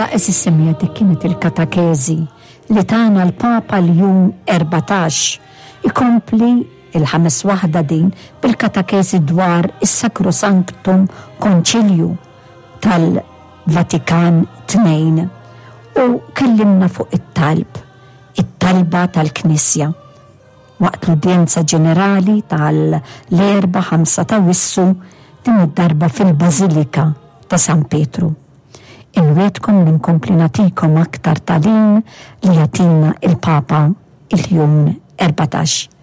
Mela għeżież semmiegħa dik kienet il-katakezi li tana l-Papa Ljun 14. Ikompli il-ħames waħda din bil-katakezi dwar is-Sacrosanctum Concilium tal-Vatikan II u kellimna fuq it-talb, it-talba tal-Knisja. Waqt l-udjenza ġenerali tal-Erbgħa 5 t'Awwissu din id-darba fil-Bażilika ta' San Pietru. Inwiegħdkom li nkompli nagħtikom aktar tagħlim li jagħtina il-Papa Ljun 14.